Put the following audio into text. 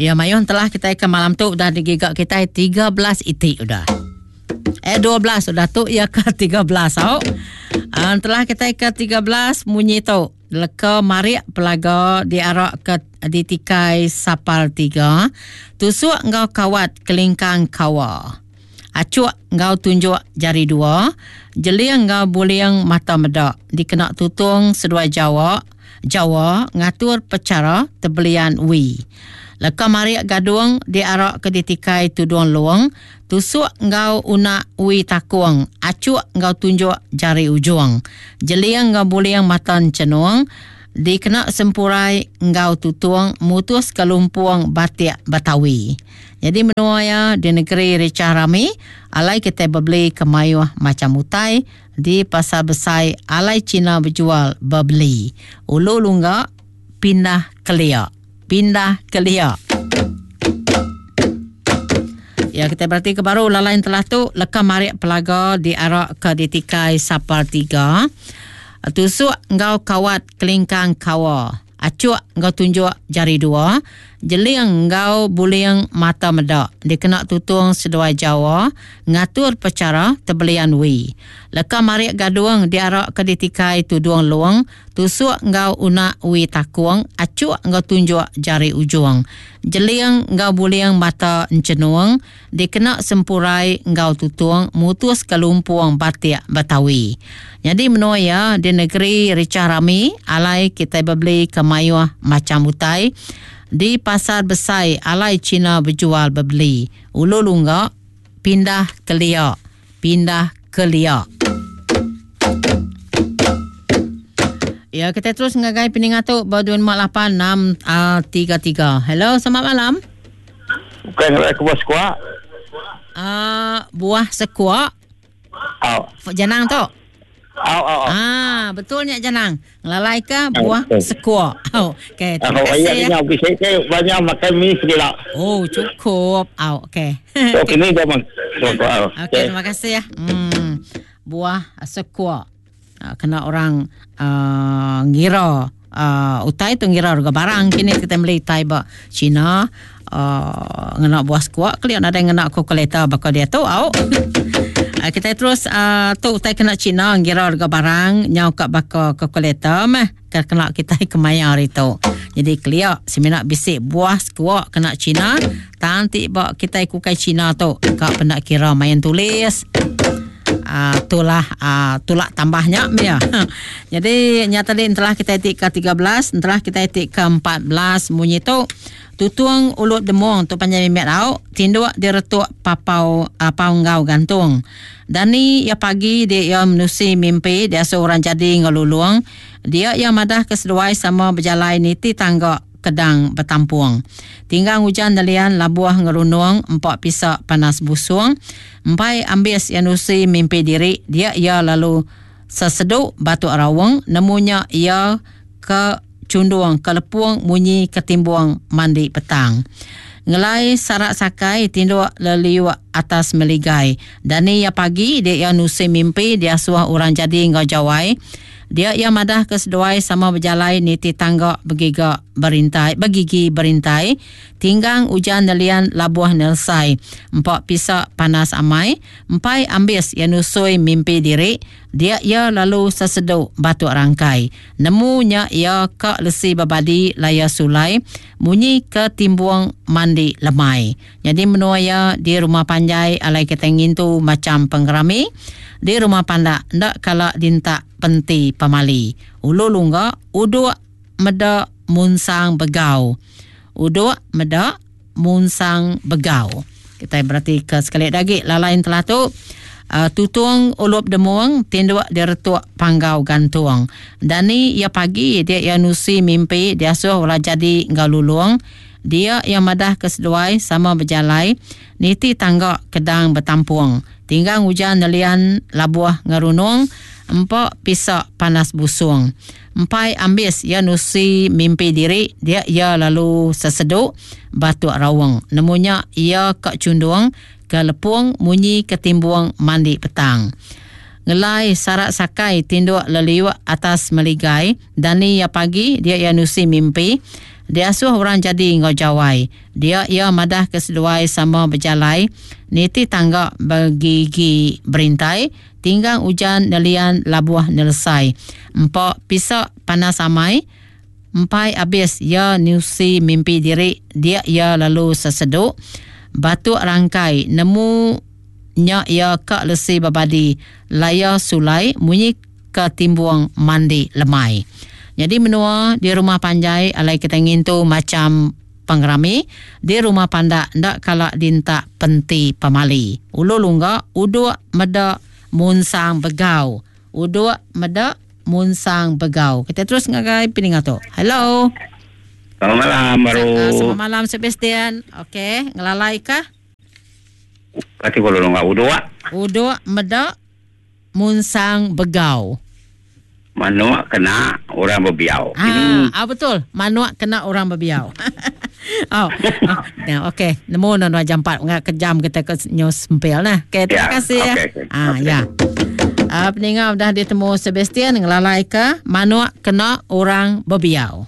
Ya mayuh telah kita ke malam tu udah digiga kita 13 iti udah. Eh 12 udah tu ya ke 13 au. Uh, telah kita ke 13 munyi tu leka marik pelaga diarak ke ditikai sapal tiga tusuk enggau kawat kelingkang kawa. Achuk enggau tunjuk jari dua, jeling enggau buling mata meda dikena tutung seduai jawa Jawa ngatur pechara tebelian wi. Leka marik gadung diarak ke ditikai tudung lung, tusuk enggau unak wi takung, achuk enggau tunjuk jari ujung. Jeling enggau buling mata enchenung dikena sempurai enggau tutung mutuska lumpung batik Betawi. Nyadi menua iya di negeri richah rami alai kitai bebeli ke mayuh macham utai Di pasar besai alai Cina bejual bebeli. Ulu lungga pindah kelia. Pindah kelia. Ya kita berarti ke baru lalai telah tu leka marik pelaga diarak ke ditikai sapar tiga. Tusuk enggau kawat kelingkang kawa. Achuk enggau tunjuk jari dua, jeling enggau buling mata meda dikena tutung seduai Jawa ngatur pechara tebelian wi. Leka marik gadung diaraka ditikai tudung lung, tusuk enggau unak wi takung, achuk enggau tunjuk jari ujung. Jeling enggau buling mata enchenung dikena sempurai enggau tutung mutuska lumpung batik Betawi. Nyadi menua iya di negeri richah rami alai kitai bebeli ke mayuh macham utai di pasar besai alai China bejual bebeli. Ulu lungga pindah kelia pindah kelia. Ya, kita terus ngagai peninga tu ba 258 633. Hello, selamat malam. Bukan ngelai ke buah sekuak. Uh, buah sekuak. Au. Janang tu. Au, au, au. Ah, betul nya Janang. Ngelalai ke buah sekuak. Au, okey. Terima kasih. Ya. Banyak makan mi segala. Oh, cukup. Au, okey. Okey, ni dah bang. Okey, terima kasih ya. Buah sekuak. Ah, kena orang uh, ngira uh, utai tu ngira harga barang kini kita beli utai ba China uh, ngena buah sekuak kelia nadai ngena kalkulator baka dia tu au. Uh, kita terus uh, tu utai kena China ngira harga barang nyau ka baka kalkulator meh ke kena kita kemaya hari tu. Jadi kelia semina bisi buah sekuak kena China tang ti ba kita kukai China tu ka penda kira main tulis. Uh, tulah uh, tulak tambahnya ya. Jadi nya tadi entelah kita ti ke 13, entelah kita ti ke 14 munyi tu tutung ulut demung tu panjai mimit au tinduk diretuk papau uh, pau enggau gantung. Dani ya pagi dia ia menusi mimpi dia seorang jadi ngelulung dia ia madah ke seduai sama berjalai niti tangga kedang betampung. Tinggang ujan nelian labuh ngerunung empak pisak panas busung. Empai ambis iya nusi mimpi diri dia iya lalu sesedu batuk raung nemu nya iya ke chundung ke lepung munyi ke timbung mandi petang. Ngelai sarak sakai tinduk leliuk atas meligai. Dani iya pagi dia iya nusi mimpi diasuh orang jadi enggau jawai. Dia iya madah ke seduai sama bejalai niti tangga begiga berintai begigi berintai. Tinggang ujan nelian labuh nelsai. Empa pisa panas amai. Empai ambis iya nusui mimpi diri, dia iya lalu sesedu batuk rangkai. Nemu nya iya ka lesi bebadi laya sulai munyi ke timbung mandi lemai. Nyadi menua iya di rumah panjai alai kitai ngintu macham pengerami. Di rumah pandak enda kala dintak penti pemali. Ulu lungga uduk meda munsang begau. Uduk meda munsang begau. Kitai beratika sekali da agi lalai entelah tu uh, tutung ulup demung tinduk diretuk panggau gantung. Dani iya pagi dia iya nusi mimpi diasuh ulah jadi enggau lulung. Dia iya madah ke seduai sama bejalai niti tangga kedang betampung. Tinggang ujan nelian labuh ngerunung empa pisa panas busung. Empai ambis iya nusi mimpi diri dia iya lalu sesedu batuk raung. Nemu nya iya ka chundung ke lepung munyi ke timbung mandi petang. Ngelai sarak sakai tinduk leliuk atas meligai dani iya pagi dia iya nusi mimpi. Diasuh orang jadi enggau Jawai. Dia iya madah ke seduai sama bejalai niti tangga begigi berintai, tinggang ujan nelian labuh nelesai. Empa pisa panas amai, empai abis iya nusi mimpi diri dia iya lalu sesedu batuk rangkai nemu nya iya ka lesi bebadi laya sulai munyi ke timbung mandi lemai. Nyadi menua di rumah panjai alai kitai ngintu macham pengerami, di rumah pandak enda kala dintak penti pemali. Ulu lungga uduk meda munsang begau. Uduk meda munsang begau. Kitai terus ngagai peninga tu. Hello. Selamat malam baru. Selamat malam Sebastian. Okey, ngelalai kah? Kati ko lulong uduk. Uduk meda munsang begau. Manuk kena orang bebiau. Ah, ah betul. Manuk kena orang bebiau. oh. oh. Ya, okey. Nemu nuan jampat ngak ke jam kita ke news sempil nah. Okey, terima Ya, kasih ya. okey, okey. Ah, Okey. ya. Ah, peninga udah ditemu Sebastian ngelalai ke manuk kena orang bebiau.